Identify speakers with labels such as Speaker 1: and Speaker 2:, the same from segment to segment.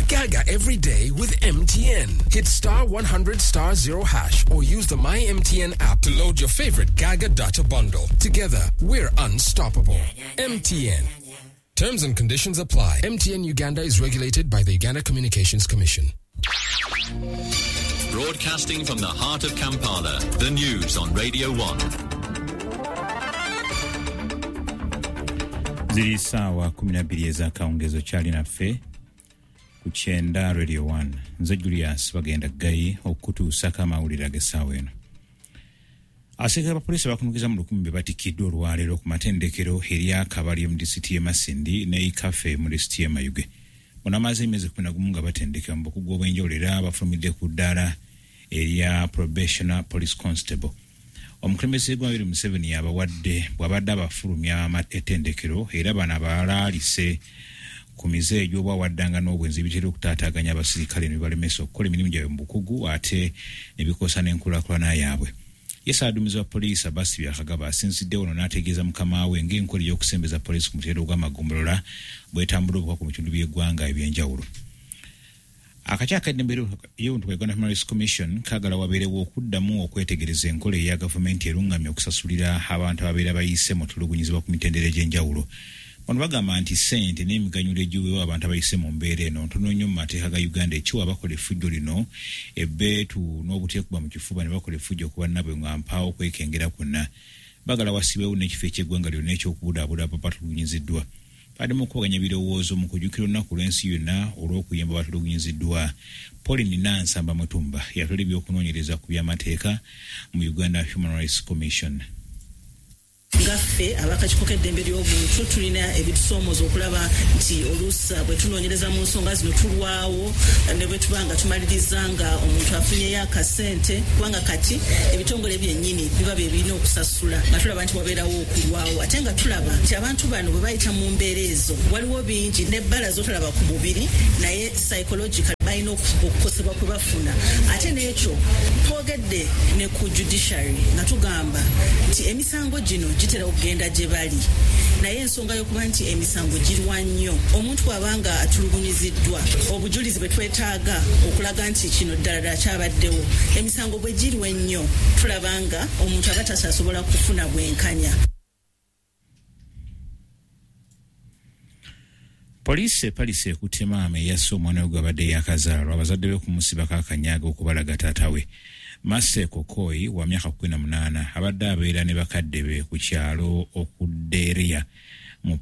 Speaker 1: Gaga every day with MTN. Hit star 100 star 0 hash or use the My MTN app to load your favorite Gaga data bundle. Together, we're unstoppable. MTN. Terms and conditions apply. MTN Uganda is regulated by the Uganda Communications Commission.
Speaker 2: Broadcasting from the heart of Kampala, the news on Radio 1.
Speaker 3: Ziri saawa 12 ez'akawungeezi okyali naffe ku kyenda Radio 1. Nze Julius Bagenda Ggayi okukutuusako amawulire ag'essaawa eno. Abaserikale ba poliisi abakunukiza mu 1000 be batikkiddwa olwaleero ku matendekero erya Kabali mu disitulikiti y'e Masindi ne Ikafe mu disitulikiti y'e Mayuge. Bano bamaze emyezi 11 nga batendekebwa mu bukugu obw'enjawulo era bafulumidde ku ddaala erya Probationer Police Constable. Omukulembeze w'eggwanga Yoweri Museveni yabawadde bw'abadde abafulumya ettendekero era bano abalaalise ku mize egy'obwawaddanga n'obwenzi ebitera okutaataaganya abasirikale ne bibalemesa okukola emirimu gyabwe mu bukugu ate ne bikosa n'enkulaakulana yaabwe. Ye Ssaabaduumizi wa poliisi Abasi Byakagaba asinzidde wano n'ategeeza mukama we ng'enkola ey'okusembeza poliisi ku mutendera ogw'amagombolola bw'etambula obuka ku bitundu by'eggwanga eby'enjawulo. Akakiiko ak'eddembe ly'obuntu ka Uganda Human Rights Commission kaagala wabeerewo okuddamu okwetegereza enkola eya gavumenti erungamya okusasulira abantu ababeera bayise mu tulugunyizibwa ku mitendera egy'enjawulo. Bano bagamba nti ssente n'emiganyulo egiweebwa abantu abayise mu mbeera eno ntono nnyo mu mateeka ga Uganda ekiwa abakola effujjo lino ebbeetu n'obuteekuba mu kifuba ne bakola effujjo ku bannaabwe nga mpaawo okwekengera kwonna. Baagala wassibwewo n'ekifo eky'eggwanga lyonna eky'okubudaabuda abatulugunyiziddwa. Babadde mu kukubaganya ebirowoozo mu kujjukira olunaku lw'ensi yonna olw'okuyamba abatulugunyiziddwa. Pauline Nansamba Mutumba yatwala eby'okunoonyereza ku by'amateeka mu Uganda Human Rights Commission.
Speaker 4: Nga ffe ab'akakiiko k'eddembe ly'obuntu tulina ebitusoomooza okulaba nti oluusi bwe tunoonyereza mu nsonga zino tulwawo ne bwe tuba nga tumaliriza nga omuntu afunyeyo akasente, kubanga kati ebitongole byennyini biba bye birina okusasula, nga tulaba nti wabeerawo okulwawo, ate nga tulaba nti abantu bano bwe bayita mu mbeera ezo waliwo bingi n'ebbala z'otalaba ku mubiri, naye psychological balina okukosebwa kwe bafuna. Ate n'ekyo twogedde ne ku judiciary nga tugamba nti emisango gino gitera okugenda gye bali, naye ensonga y'okuba nti emisango girwa nnyo, omuntu bw'aba nga atulugunyiziddwa, obujulizi bwe twetaaga okulaga nti kino ddala ddala kyabaddewo, emisango bwe girwa ennyo tulaba nga omuntu aba takyasobola kufuna bwenkanya.
Speaker 3: Poliisi e Palisa ekutte maama eyasse omwana we gw'abadde yaakazaalwa abazadde be kumusibako akanyaaga okubalaga taata we. Mercy Kokoi wa myaka 18 abadde abeera ne bakadde be ku kyalo Okuderia mu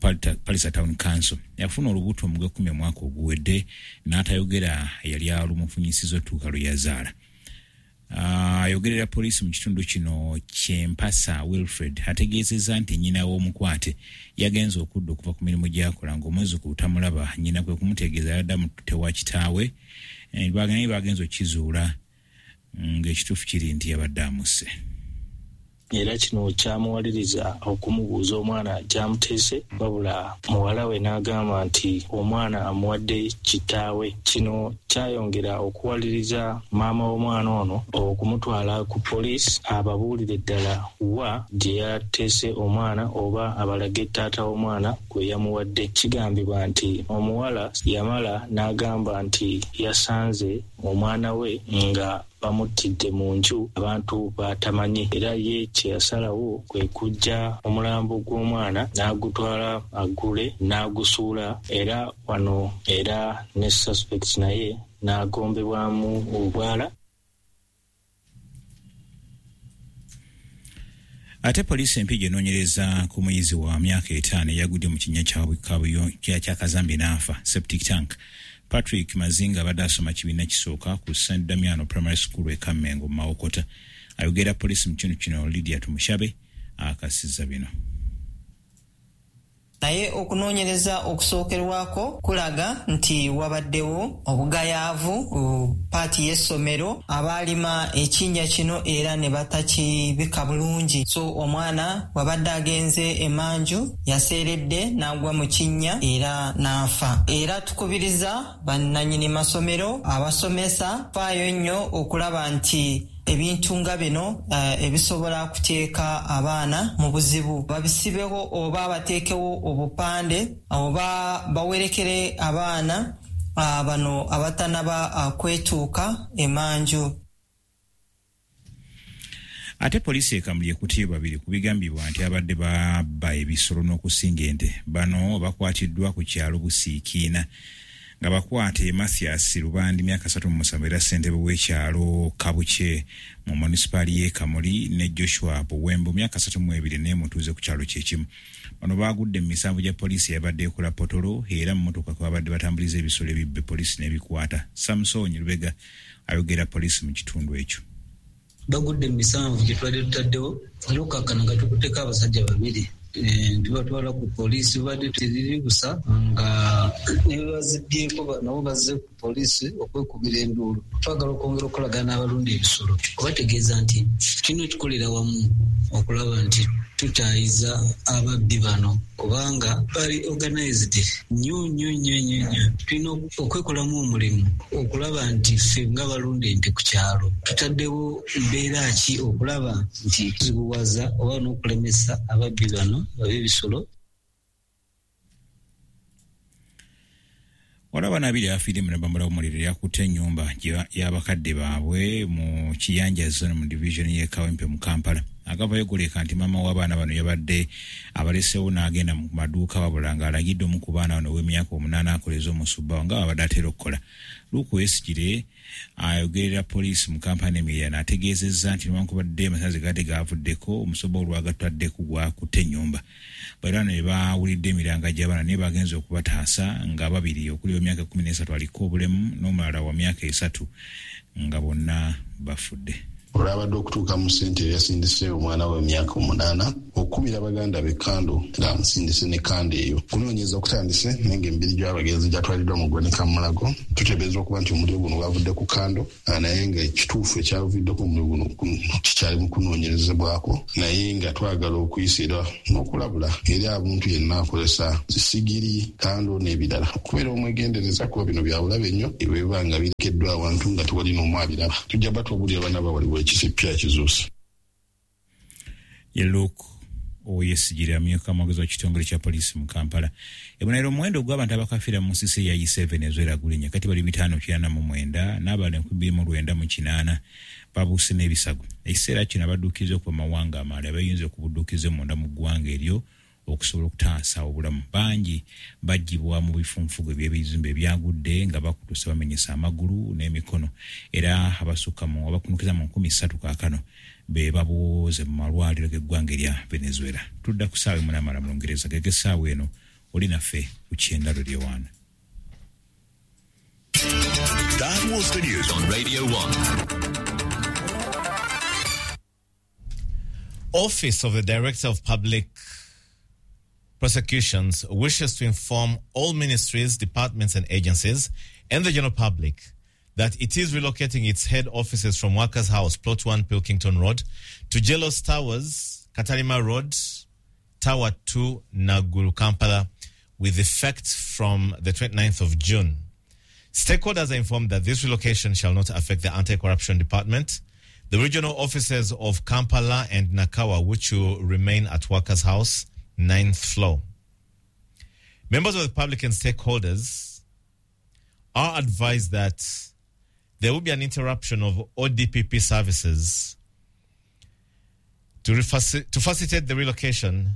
Speaker 3: Palisa Town Council. Yafuna olubuto mu gw'ekkumi omwaka oguwedde n'atayogera eyali alumufunyisizza otuuka lwe yazaala. Ayogerera poliisi mu kitundu kino Kyempasa Wilfred ategeezezza nti nnyina w'omukwate yagenze okudda okuva ku mirimu gy'akola ng'omwezukulu tamulaba, nnyina kwe kumutegeeza yabadde amututte wa kitaawe, naye bagenze okukizuula ng'ekituufu kiri nti yabadde amusse.
Speaker 5: Era kino kyamuwaliriza okumubuuza omwana gy'amuteese, wabula muwala we n'agamba nti omwana amuwadde kitaawe. Kino kyayongera okuwaliriza maama w'omwana ono okumutwala ku poliisi ababuulire ddala wa gye yateese omwana oba abalage taata w'omwana gwe yamuwadde. Kigambibwa nti omuwala yamala n'agamba nti yasanze omwana we nga bamuttidde mu nju abantu batamanyi, era ye kye yasalawo kwe kuggya omulambo gw'omwana n'agutwala agule n'agusuula, era wano era ne suspect naye n'agombebwamu obwala.
Speaker 3: Ate poliisi Empigi enoonyereza ku muyizi wa myaka 5 eyagudde mu kinnya kya Kazambi n'afa septic tank. Patrick Mazinga abadde asoma kibiina kisooka ku St Damiano Primary School e Kammengo mu Mawokota. Ayogera poliisi mu kitundu kino Lydia Tumushabe akasizza bino.
Speaker 6: Naye okunoonyereza okusookerwako kulaga nti wabaddewo obugayaavu ku paati y'essomero, abaalima ekinnya kino era ne batakibika bulungi. So omwana bw'abadde agenze emanju yaseeredde n'agwa mu kinnya era n'afa. Era tukubiriza bannannyini masomero, abasomesa, faayo nnyo okulaba nti ebintu nga bino ebisobola kuteeka abaana mu buzibu babisibeho oba bateekewo obupande oba bawerekere abaana Bano abatanaba kwetuuka emanju.
Speaker 3: Ate poliisi e Kamuli ekutte babiri ku bigambibwa nti abadde babba ebisolo n'okusinga ente. Bano bakwatiddwa ku kyalo Busiikiina nga bakwate Mathias Lubandi, myaka 37, era ssentebe w'ekyalo Kabukye mu munisipaali y'e Kamuli, ne Joshua Buwembo, myaka 32, naye mutuuze ku kyalo kyekimu. Bano baagudde mu misanvu gya poliisi eyabadde ekola potolo, era mu mmotoka kwe babadde batambuliza ebisolo ebibbe, poliisi n'ebikwata. Samson Lubega ayogera poliisi mu kitundu ekyo.
Speaker 7: Bagudde mu misanvu gye tubadde tutaddewo, era okkakkana nga tukutteko abasajja babiri, tubatwala ku poliisi. Babadde teriri busa nga ne bebazibbyeko nabo bazze ku poliisi okwekubira enduulu. Twagala okwongera okukolagana n'abalunda ebisolo, obategeeza nti tulina okukolera wamu okulaba nti tutaayiza ababbi bano, kubanga bali organized nnyo nnyo nnyo nnyo nnyo. Tulina okwekolamu omulimu okulaba nti ffe nga balunda ente ku kyalo tutaddewo mbeera ki okulaba nti tuzibuwaza oba n'okulemesa ababbi bano ab'ebisolo.
Speaker 3: Waliwo abaana babiri abafiiridde mu nabambala w'omuliro eyakutte ennyumba y'abakadde baabwe mu Kiyanja Zone mu division y'e Kawempe mu Kampala. Agavayo goleka nti maama w'abaana bano yabadde abaleseewo n'agenda mu maduuka, wabula ng'alagidde omu ku baana bano ow'emyaka 8 akoleze omusubbawo nga babadde atera okukola. Luke Wesigire ayogerera poliisi mu Kampala n'emiriraano ategeezezza nti newankubadde amasannyalaze gaadde gaavuddeko, omusubbawo olwagatwaddeku gwakutte ennyumba. Bano ne bawulidde emiranga gy'abaana naye bagenze okubataasa nga babiri, okuli ow'emyaka 13 aliko obulemu n'omulala wa myaka 3, nga bonna bafudde.
Speaker 8: Olwabadde okutuuka mu ssente, yasindise omwana we emyaka 8 okukubira baganda be kando, ng'amusindise ne kando eyo. Okunoonyereza okutandise, naye ng'emibiri gy'abagenzi gyatwaliddwa mu ggwanika Mulago. Tuteebereza okuba nti omuliro guno gwavudde ku kando, naye nga ekituufu ekyavuddeko omuliro guno kikyali mu kunoonyerezebwako, naye nga twagala okuyisa era n'okulabula eri abantu yenna akozesa sigiri, kando n'ebirala okubeera omwegendereza, kuba bino byabulabe nnyo ebiba nga birekeddwa awantu nga tewali n'omu abiraba. Tujja batwabulira bana bawaliwo ekisipya ekizuuse.
Speaker 3: Ye Luke Oyesigire amyuka mwogezi wa kitongole kya poliisi mu Kampala. Ebonero omuwendo gw'abantu abakafiira mu nsisi ya E7 ezoera gulinnya, kati bali 599, n'abalala 2908 babuuse n'ebisago. Ekiseera kino abadduukirize okuva mu mawanga amalala bayinza okubudduukirize munda mu ggwanga eryo okusobola okutaasa obulamu. Bangi baggyibwa mu bifunfugu eby'ebizimbe ebyagudde nga bakutuse, bamenyesa amagulu n'emikono, era abasukka mu abakunukiza mu 3000 kaakano be babuuze mu malwaliro g'eggwanga erya Venezuela. Tudda ku ssaawa 8 mu Lungereza gege essaawa eno oli naffe ku Kyenda Radio 1.
Speaker 2: That was the news on Radio 1.
Speaker 9: Office of the Director of Public Prosecutions wishes to inform all ministries, departments and agencies and the general public that it is relocating its head offices from Workers' House, Plot 1, Pilkington Road, to Jelos Towers, Katalima Road, Tower 2, Naguru, Kampala, with effect from the 29th of June. Stakeholders are informed that this relocation shall not affect the Anti-Corruption Department, the regional offices of Kampala and Nakawa, which will remain at Workers' House, 9th floor. Members of the public and stakeholders are advised that there will be an interruption of ODPP services to facilitate the relocation,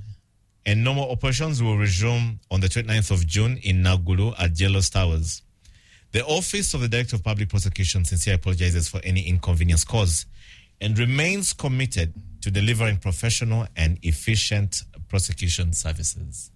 Speaker 9: and normal operations will resume on the 29th of June in Naguru at Jelos Towers. The Office of the Director of Public Prosecution sincerely apologizes for any inconvenience caused and remains committed to delivering professional and efficient prosecution services.